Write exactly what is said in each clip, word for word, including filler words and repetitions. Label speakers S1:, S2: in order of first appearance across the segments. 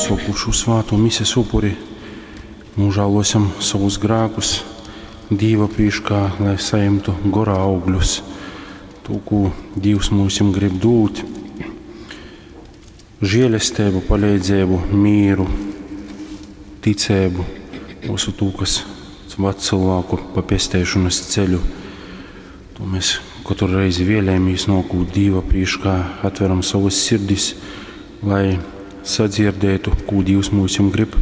S1: Sokūt šū svātū mises upuri, nožēlosim savus grēkus Dīva prīškā, lai sajimtu gora augļus, to, ko Dievs mūsim grib dūt, žēlestību, palīdzību, mīru, ticību, visu to, kas ved cilvēku pa pesteišanas ceļu. To mēs katru reizi vēlējamies nokūt Dīva prīškā, atveram savas sirdis, lai sadzirdētu, ko Dievs mūsim grib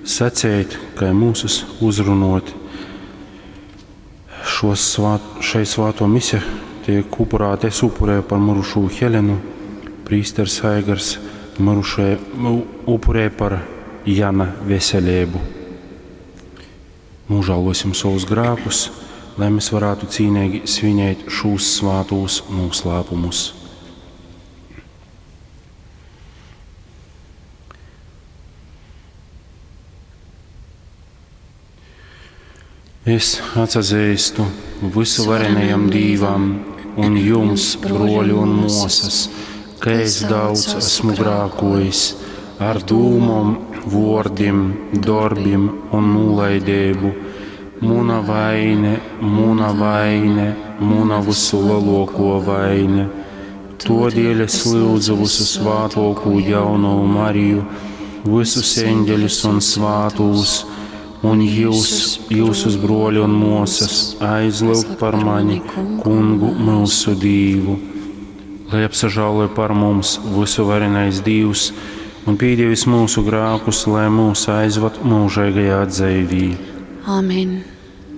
S1: sacēt, kā mūsus uzrunot. Šos svāt, šai svāto mise tiek upurāta, es upurēju par mirušo Helenu, prīsters Aigars mirušai, upurēja par Jana veselību. Nožēlosim savus grēkus, lai mēs varētu cīnīgi svinēt šos svātos noslēpumus. Es atsazīstu visuvarenajam Dīvam un jums, broļi un mosas, ka es daudz esmu grākojis ar dūmom, vōrdim, darbim un nūlaidību. Muna vaine, muna vaine, muna visu lielāko vaine. Todēļ es lūdzu visu svātōkū jauno Mariju, visus eņģeļus un svātūs, un jūs, jūsus broļi un mosas, aizlūgt par mani, kungu mūsu Dīvu. Lai apsažāloja par mums visuvarenais Dīvs un pīdievis mūsu grēkus, lai mūs aizvad mūžīgajā dzīvī.
S2: Amen.